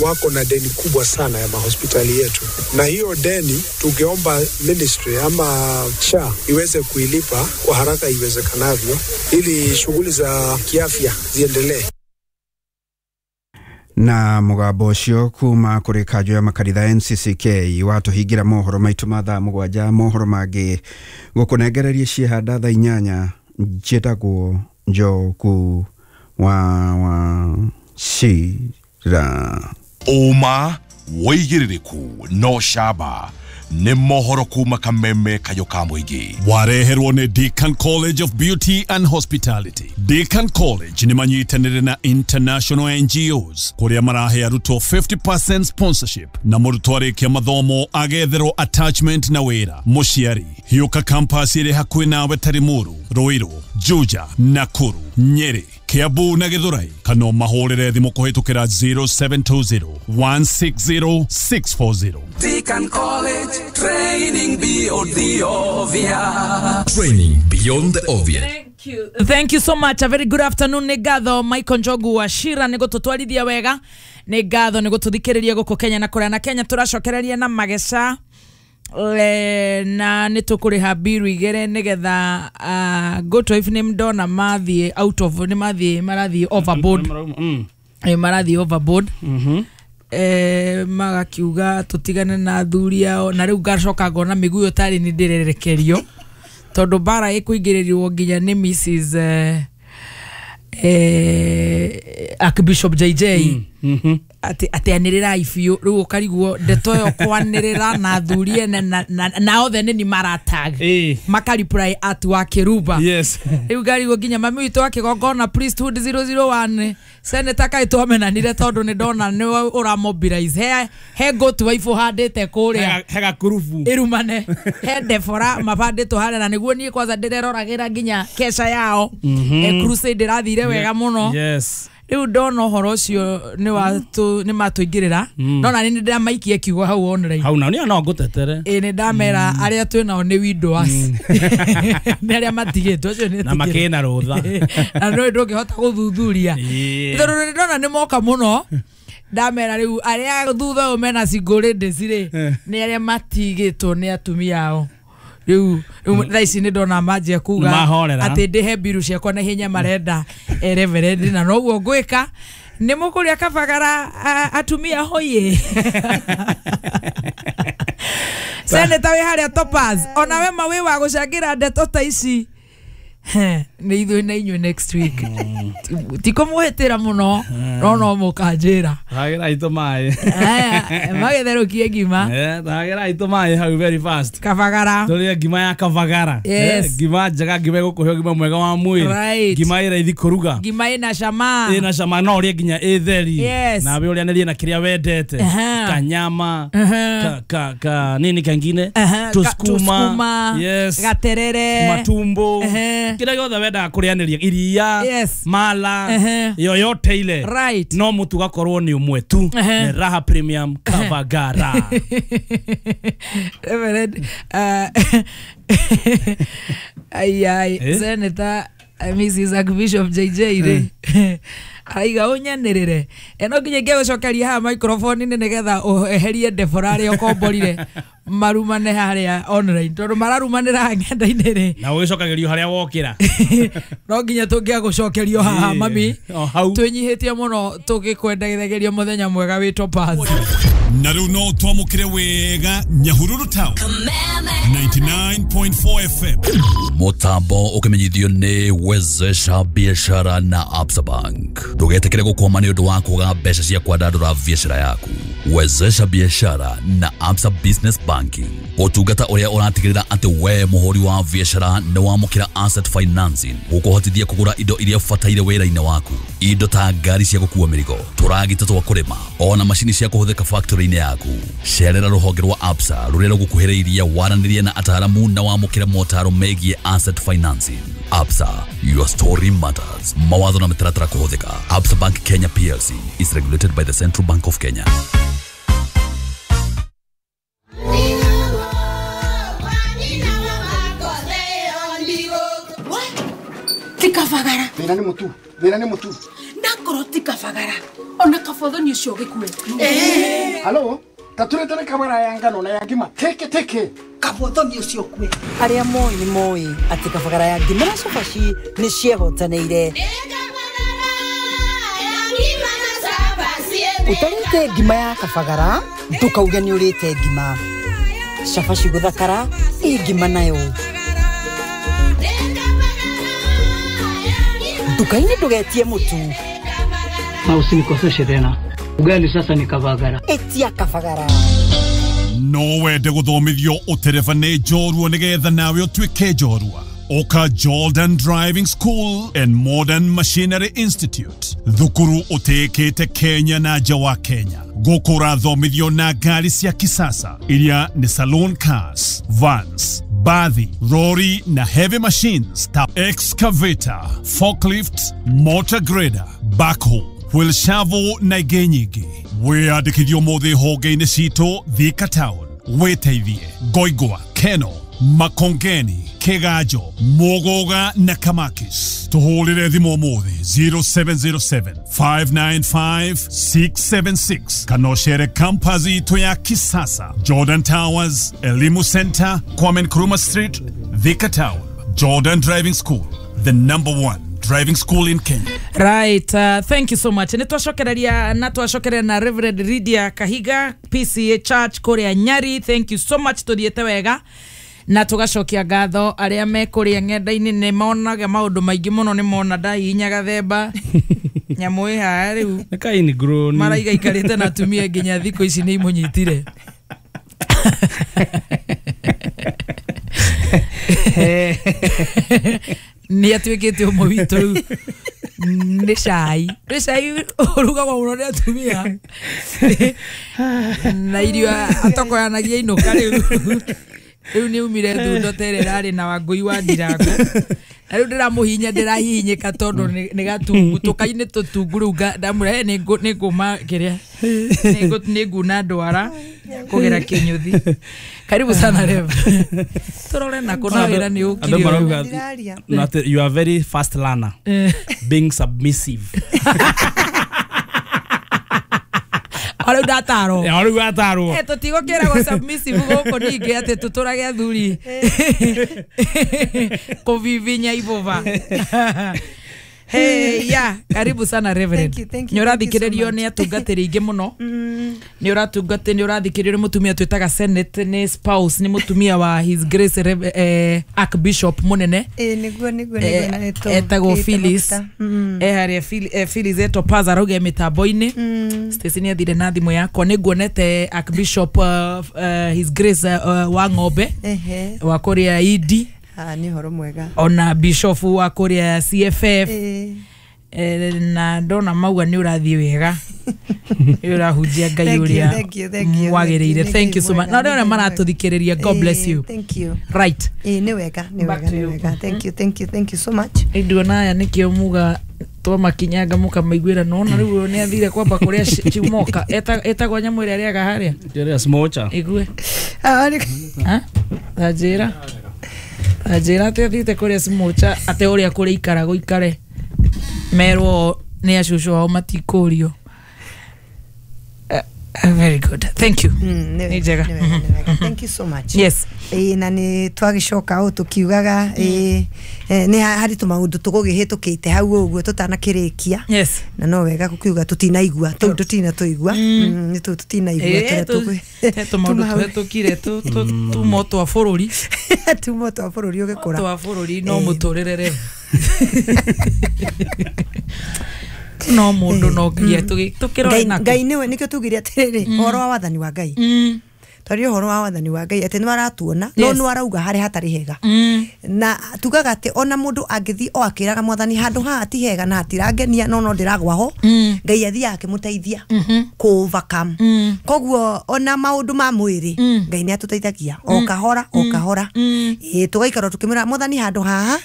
wako na deni kubwa sana ya mahospitali yetu, na hiyo deni tungeomba ministry ama SHA iweze kuilipa kwa haraka iwezekanavyo ili shughuli za kiafya ziendelee. Na mũgambo ũcio kuma kũrĩ kanjo ya makanitha NCCK watũhingĩra mohoro maitũ ma thaa 7. Mohoro mangĩ gũkũnengereria ciehanda thaa 8. Njĩtagwo Njoku wa Wachira. Ũma wĩigĩrĩrĩku no camba nĩ mohoro kuma Kameme Kayo ka mũingĩ. Wareherwo nĩ Deacon College of Beauty and Hospitality. Deacon College nĩ manyitanĩire na international NGOs kũrĩa marahe arutwo 50% sponsorship na mũrutwo arĩkia mathomo agetherwo attachment na wĩra. Mũciari hiũka campus ĩrĩ hakuhĩ nawe ta Limuru, Ruiru, Juja, Nakuru, Nyeri, Kiambu na Githurai, kana mahũrĩre thimũ kũhĩtũkĩra 0720 160 640. Deacon College, training beyond the obvious. Training beyond the obvious. Thank you so much. A very good afternoon. Nĩ ngatho Michael Njogu wa Shira nĩ gũtũtwarithia wega. Nĩ ngatho nĩ gũtũthikĩrĩria gũkũ Kenya na kũrĩa na Kenya tũracokereria na mageca na nĩ tũkũrĩha biru igĩrĩ nĩgetha go to if nĩ ndona mathiĩ out of nĩ mathiĩ marathiĩ overboard. Marathiĩ overboard. Magakiuga tũtigane na athuri ao na rĩu ngacoka ngona mĩguĩ tarĩ nĩ ndĩrerekerio. Tondũ mbara ĩkũingĩrĩrwo nginya nĩ Mrs Archbishop JJ atĩ anĩrĩrai biũ rĩu ũkarigwo ndeto ĩyo kwanĩrĩra na athuri ene na othe nĩ ni maratag makareply at wa Kĩrumba. Yes. Rĩu ngarigwo nginya mami witũ wa kĩgongona priesthood 001 senator kaĩ twamenanire tondũ nĩ ndona nĩ ũramobilize he goat wife ũhandĩte kũrĩa he gakurubu ĩrumane he Deborah mabandĩtwo harĩa na nĩguo niĩ kwanza ndĩreroragĩra nginya kesha yao. Crusade ĩrathire wega mũno. Yes. Rĩu ndona ũhoro ũcio nĩ matũingĩrĩra no na nĩ ndĩramaikia kiugo hau online hau na niĩ no ngũtetere. Ĩ nĩ ndamera arĩa twĩ nao nĩ widowers nĩ arĩa matigĩtwo acio nĩ na makĩna rũtha na no ndũngĩhota gũthuthuria tondũ nĩ ndona nĩ moka mũno ndamera rĩu arĩa thutha ũyũ mena single ladies rĩ nĩ arĩa matigĩtwo nĩ atumia ao. Rĩu thaa ici nĩ ndona manjia kuga atĩ ndĩhe mbiru ciakwa na ihenya marenda reverend na noguo ngwĩka nĩ mũkũrĩa kabagara atumia hoye. Senator wĩ harĩa Topaz ona we ma wĩ wa gũcangĩra ndeto ta ici nĩ ithuĩ na inyuĩ next week ti kũmũhĩtĩra mũno no no mũkanjĩra hagĩra itũ maĩ magĩtherũkie ngima hagĩra itũ maĩ hau very fast kabagara tũrĩe ngima ya kabagara. Yes. Ngima njega ngima ĩgũkũhe ũgima mwega wa mwĩrĩ ngima ĩ raithi kũruga ngima ĩna cama ĩna cama no ũrĩe nginya ĩ theri nawe ũrĩanĩrie na kĩrĩa wendete kanyama ka nini kangine tusukuma yes gaterere matumbo kĩrĩa gĩothe wendaga kũrĩanĩria iria mala yoyote ile right. No mũtu gakorwo nĩ ũmwe tu nĩ Raha Premium Kabagara. Reverend ai Senator Mrs Archbishop JJ rĩ araiga ũnyanĩrĩre eno nginya ingĩgũcokeria haha microphone-inĩ nĩgetha ũeherie Deborah arĩa ũkomborire marumane harĩa online tondũ mararumanĩra ng'enda-inĩ rĩ na ũgĩcokagĩrio harĩa wokĩra no nginya tũngĩagũcokerio haha mami twĩnyihĩtie mũno tũgĩkwendagĩria mũthenya mwega wĩ Topaz. Na rĩu no twamũkĩre wega Nyahururu Town 99.4 FM. Mutambo ukimenyithio nĩ Wezesha Biashara na Absa Bank. Ndũgetĩkĩre gũkwama nĩ ũndũ wa kwaga mbeca cia kwandandũra biashara yaku. Wezesha Biashara na Absa Business Banking, ũtungata ũrĩa ũratigĩrĩra atĩ we mũhũri wa biashara nĩ wamũkĩra asset financing gũkũhotithia kũgũra indo iria ũbataire wĩra-inĩ waku, indo ta ngari cia gũkua mĩrigo, tũragita twa kũrĩma ona macini cia kũhũthĩka factory-inĩ yaku. Cerera rũhonge rwa Absa rũrĩa rũgũkuhĩrĩirie waranĩrie na ataaramu na wamũkĩre motaro megiĩ asset financing. Absa, your story matters. Mawatho na mĩtaratara kũhũthĩka. Absa Bank Kenya PLC is regulated by the Central Bank of Kenya. Tikabagara. Thĩna nĩ mũtu, thĩna nĩ mũtu. Ndakorwo tikabagara. Ona kabothoni ũcio gĩkue. Halo, tatũrĩte kabara ya ngano na ya ngima. Teke teke. Kabothoni ũcio kue. Arĩa moĩ nĩ moĩ atĩ kabagara ya ngima na cabaci nĩ ciehotanĩire. Ũtarĩte ngima ya kabagara, ndũkauge nĩ ũrĩte ngima. Cabaci gũthakara, ĩ ngima nayo. Nduka-inĩ ndũgetie mũtu. Na usinikoseshe tena. Ugali sasa ni kabagara. Etia kabagara. No wende gũthomithio ũtereba nĩ njorua nĩgetha nawe ũtuĩke njorua. Oka Jordan Driving School and Modern Machinery Institute, thukuru ũtĩĩkĩte Kenya na nja wa Kenya. Gũkũ ũrathomithio na ngari cia kisasa iria nĩ saloon cars, vans, bathi, lorry na heavy machines ta excavator, forklift, motor grader, backhoe, wheel shovel na ingĩ nyingĩ. Wĩyandĩkithio ũmũthĩ honge-inĩ citũ Thika Town, wĩteithie Ngoingwa, Keno, Makongeni, Kigajo, Muguga na Kamakis. Tuhũrĩre thimũ ũmũthĩ 0707 595 676 kana ũcere campus itũ ya kisasa, Jordan Towers, Elimu Center, Kwame Nkrumah Street, Thika Town. Jordan Driving School, the number one driving school in Kenya. Right, thank you so much. Nĩ twacokereria na twacokereria na Reverend Lydia Kahiga, PCA Church kũrĩa Nyari. Thank you so much, tũthiĩte wega. Na tũgacokia ngatho arĩa me kũrĩa ng'enda-inĩ nĩ monaga maũndũ maingĩ mũno, nĩ mona ndahihinya gathemba nyamũ ĩ haha rĩu Nĩ ka ingrown. Maraiga ikarĩte na atumia nginya thikũ ici nĩ imũnyitire. Nĩ atuĩkĩte ũmwe witũ rĩu. Nĩ cai, nĩ cai ũrugagwo mũno nĩ atumia na irio atokoyanagia inũka rĩu. Rĩu nĩ umire thundo ta ĩrĩa ĩrarĩ na Wangũi wa Ndirango, na rĩu ndĩramũhihinya, ndĩrahihinyĩka tondũ nĩ gatungu tũkainĩ tũtungu. Rĩu ndamwĩra nĩ ngũma kĩrĩa nĩ nguna ndwara kũgera kĩnyũthi. Karibu sana Rev. Tũrore na kũna wĩra nĩ ũkire. Andũ marauga you are very fast learner, being submissive. Arau ndatarwo. Arau atarwo. Tũtigũkĩragwo submissive gũkũ ningĩ atĩ tũtũrage athuri kũvivinya ibũba. Hey, yeah, karibu sana Reverend. Nĩ ũrathikĩrĩrio nĩ atungatĩri aingĩ mũno. Nĩ ũratungatĩ, nĩ ũrathikĩrĩrio nĩ mũtumia twĩtaga Senate, nĩ spouse, nĩ mũtumia wa His Grace Archbishop mũnene. Nĩguo nĩguo nĩguo na nĩtũ. Etagwo Phyllis. Harĩa Phyllis Etopaza arauga mĩtambo-inĩ. Stacy nĩ athire na thimũ yakwa, nĩ nguonete Archbishop His Grace wa Ng'ombe wa kũrĩa Idi. Nĩ ũhoro mwega. Ona bishop wa kũrĩa CFF. Na ndona mauga nĩ ũrathiĩ wega. Nĩ ũrahunjia Ngai ũrĩa wagĩrĩire. Thank you so much. Na arĩa maratũthikĩrĩria, God bless you. Thank you. Right. Nĩ wega, nĩ wega, nĩ wega. Thank you, thank you, thank you so much. Nduona aya nĩkĩo muga twamakinyanga mũkamaiguĩra, nona rĩu nĩ athire kwamba kũrĩa Chimoka. Etagwo nyamũ ĩrĩa arĩaga harĩa. Ĩrĩa smocha. Igue. Tanjĩra. Anjĩra atĩ athiĩte kũrĩa smocha, atĩ ũrĩa kũrĩa ikara gũikare merwo nĩ acũcũ ao matikũrio. Very good, thank you. Nĩ njega. Thank you so much. Yes. Na nĩ twagĩcoka o tũkiugaga nĩ harĩ tũmaũndũ tũgũgĩhĩtũkĩte hau ũguo tũtanakĩrĩkia. Yes. Na no wega gũkiuga tũtinaigua tũu tũtinatũigua, nĩ tũu tũtinaigua tũrĩa tũgũ tũmaũndũ tũhĩtũkire tumo twa bũrũri, tumo twa bũrũri ũgĩkũra twa bũrũri no mũtũrĩre rĩ no mũndũ no nginya tũkĩrore nako. Ngai nĩwe nĩkĩo tugire atĩrĩrĩ ũhoro wa wathani wa Ngai, twaria ũhoro wa wathani wa Ngai atĩ nĩ aratuona no nĩ arauga harĩa hatarĩ hega, na tugaga atĩ ona mũndũ angĩthiĩ o akĩraga mwathani handũ haha ti hega na hatirangenia no no ndĩragwa ho, Ngai athiaga akĩmũteithia kũ overcome. Koguo ona maũndũ ma mwĩrĩ Ngai nĩ atũteithagia o kahora o kahora, tũgaikara tũkĩmwĩra mwathani handũ haha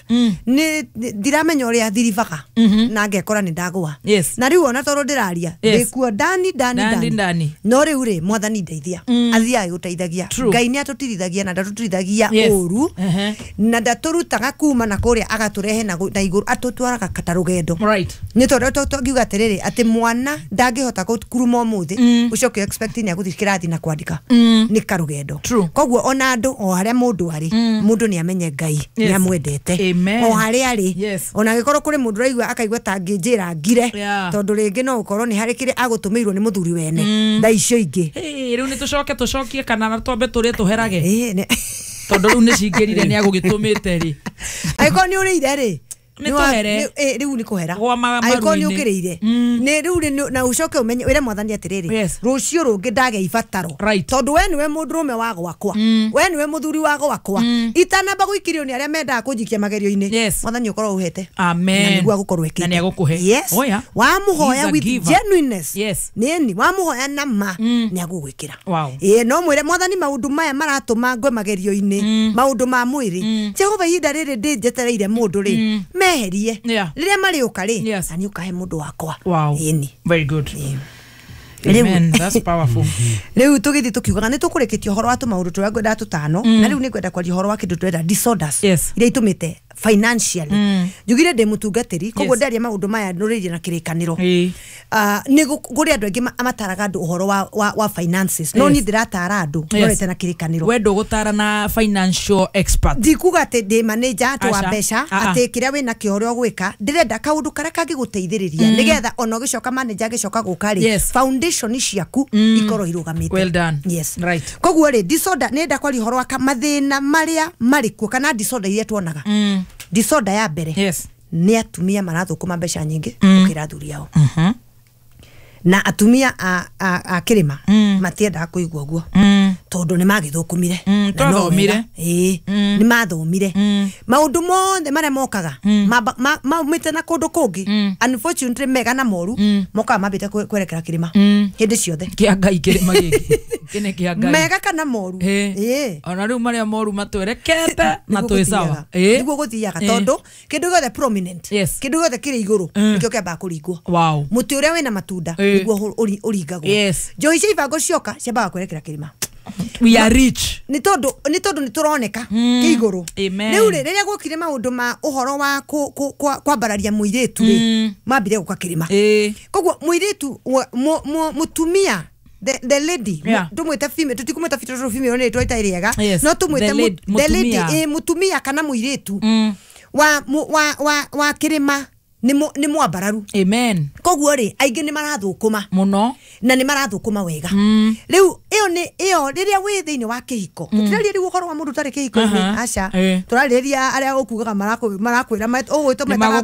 nĩ ndiramenya ũrĩa thiribaga na ngekora nĩ ndagwa, na rĩu ona tondũ ndĩraria ndĩkuo ndani ndani ndani, no rĩu rĩ mwathani ndeithia, athiaga gũteithagia. Ngai nĩ atũtirithagia na ndatũtirithagia ũru na ndatũrutaga kuma na kũrĩa agatũrehe na igũrũ, atũtwaraga ta rũgendo. Nĩ tondũ tũngiuga atĩrĩrĩ atĩ mwana ndangĩhota kũruma ũmũthĩ ũcoke expect nĩ agũthiĩ kĩrathi na kwandĩka, nĩ karũgendo. Koguo ona andũ o harĩa mũndũ arĩ, mũndũ nĩ amenye Ngai nĩ amwendete o harĩa arĩ, ona angĩkorwo kũrĩ mũndũ ũraigua akaigua ta angĩnjĩra ngire, tondũ rĩngĩ no ũkorwo nĩ harĩ kĩrĩa agũtũmĩirwo nĩ mũthuri wene thaa icio ingĩ. Rĩu nĩ tũcoke tũcokie kana twambe tũrĩe tũherage, tondũ rĩu nĩ cingĩrire nĩ agũgĩtũmĩte rĩ. Angĩkorwo nĩ ũrĩire rĩ, nĩ tũhere rĩu nĩ kũhera, angĩkorwo nĩ ũkĩrĩire nĩ rĩu, na ũcoke ũmenye wĩre mwathani atĩrĩrĩ, rũciũ rũngĩ ndagĩa ibataro, tondũ we nĩwe mũndũrũme wa gwakwa, we nĩwe mũthuri wa gwakwa, itanamba gũikirio nĩ arĩa mendaga kũnjikia magerio-inĩ, mwathani ũkorwo ũhete. Amen. Na nĩguo agũkorwo ekĩte, na nĩ agũkũhe. Yes. Wamũhoya with genuineness, nĩni wamũhoya na ma nĩ agũgwĩkĩra. No mwĩre mwathani maũndũ maya maratũma ngwe magerio-inĩ, maũndũ ma mwĩrĩ, Jehova ihinda rĩrĩ ndĩ njetereire mũndũ rĩ, meherie rĩrĩa marĩũka rĩ, na nĩ ũkahe mũndũ wakwa. Ĩni. Very good. Amen. That's powerful. Rĩu tũgĩthiĩ tũkiugaga nĩ tũkũrĩkĩtie ũhoro wa tũmaũndũ tũrĩa ngwendaga tũtano, na rĩu nĩ ngwenda kwaria ũhoro wa kĩndũ tũrenda disorders iria itũmĩte Financially njugire ndĩ mũtungatĩri, koguo ndaria maũndũ maya nũrĩirie na kĩrĩkanĩro. Nĩ kũrĩ andũ aingĩ mataraga andũ ũhoro wa finances, no niĩ ndĩratara andũ norete na kĩrĩkanĩro. We ndũgũtara na financial expert. Ndikuga atĩ ndĩ manager atĩ wa mbeca, atĩ kĩrĩa wĩna kĩo ũrĩa ũgwĩka, ndĩrenda kaũndũ karĩa kangĩgũteithĩrĩria nĩgetha ona ũgĩcoka manager agĩcoka gũka rĩ, foundation ciaku ikorwo irũgamĩte. Well done. Yes. Right. Koguo rĩ, disorder nĩ kwaria ũhoro wa mathĩna marĩa marĩ kuo kana disorder iria tuonaga. Disorder ya mbere nĩ atumia marathũkũma mbeca nyingĩ gũkĩra athuri ao. Na atumia a kĩrĩma matiendaga kũigua ũguo tondũ nĩ magĩthũkũmire. Twathomire. Ĩĩ, nĩ mathomire. Maũndũ mothe marĩa mokaga maumĩte na kũndũ kũngĩ, unfortunately mega na moru, mokaga mambĩte kwerekera kĩrĩma hĩndĩ ciothe. Kĩa Ngai kĩrĩma gĩkĩ. Kĩnĩ kĩa Ngai. Mega kana moru. Ĩĩ. Ona rĩu marĩa moru matwerekete na twĩ sawa. Nĩguo gũthiaga tondũ kĩndũ gĩothe prominent, kĩndũ gĩothe kĩrĩ igũrũ nĩkĩo kĩambaga kũringwo. Wow. Mũtĩ ũrĩa wĩna matunda nĩguo ũringagwo. Njohi cia ibango cioka ciambaga kwerekera kĩrĩma. We are rich. Nĩ tondũ nĩ tũroneka kĩ igũrũ. Rĩu rĩ, rĩrĩa gwokire maũndũ ma ũhoro wa kwambararia mũirĩtu rĩ, mambire gũka kĩrĩma. Koguo mũirĩtu mũtumia, the lady, tumwite female, tutikumwita tondũ female nĩ rĩtwa rĩtarĩ rĩega, no tumwite the lady, mũtumia kana mũirĩtu wa kĩrĩma nĩ mwambararu. Amen. Koguo rĩ, aingĩ nĩ marathũkũma mũno na nĩ marathũkũma wega. Rĩu ĩyo nĩ ĩyo rĩrĩa wĩ thĩinĩ wa kĩhiko, tũtiraria rĩu ũhoro wa mũndũ ũtarĩ kĩhiko-inĩ, aca, tũrarĩrĩria arĩa ũkugaga marakwĩra ũgwĩtwo metaga